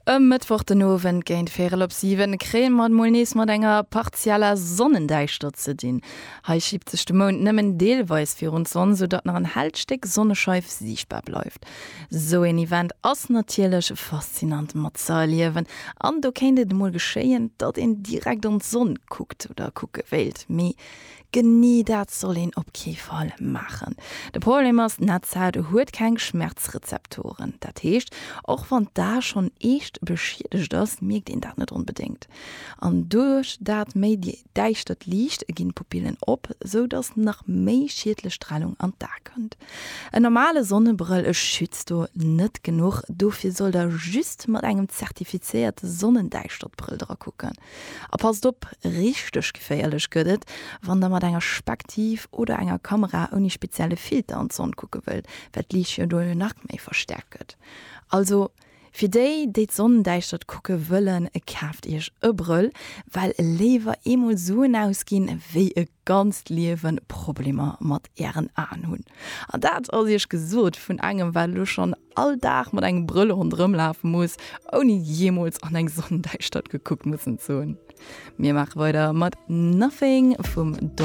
E Mëttwoch den Owend géint véierel op 7 kréie mer et mol nees mat enger partieller Sonnendäischtert ze dinn. Hei schiebt sech de Mound nëmmen deelweis virun d'Sonn, sou datt nach en hellt Stéck Sonnescheif siichtbar bleift. Sou een Event ass natierlech faszinant matzeerliewen an do kéint et emol geschéien, datt een direkt an d'Sonn kuckt oder kucke wéilt. Mee Genee dat soll een op kee Fall maachen. De Problem ass, d'Netzhaut huet keng Schmerzrezeptoren. Dat heescht, och wann d'A schonn eescht beschiedegt ass, mierkt een dat net onbedéngt. An duerch dat méi däischtert Liicht ginn d'Pupillen op, sou dass nach méi schiedlech Stralung an d'A kënnt. En normale Sonnebrëll schützt do net genuch, dofir sollt der just mat engem zertifizéierte Sonnendäischtertbrëll dra kucken. A passt op, richteg geféierlech gëtt et, wann der mat enger Spektiv oder enger Kamera ouni spezielle Filter an d'Sonn kucke wëllt, well d'Liicht jo do jo nach méi verstäerkt gëtt. Also fir déi, déi d'Sonnendäischtert kucke wëllen, kaaft iech e Brëll, well léiwer eemol Suen ausginn, wéi e ganzt Liewen Problemer mat ären Aen hunn. An dat ass iech gesot vun engem, wat elo schonn all Dag mat engem Brëll ronderëm lafe muss, ouni jeemools an eng Sonnendäischtert gekuckt mussen ze hunn. Mir maache weider mat Nothing vum Don.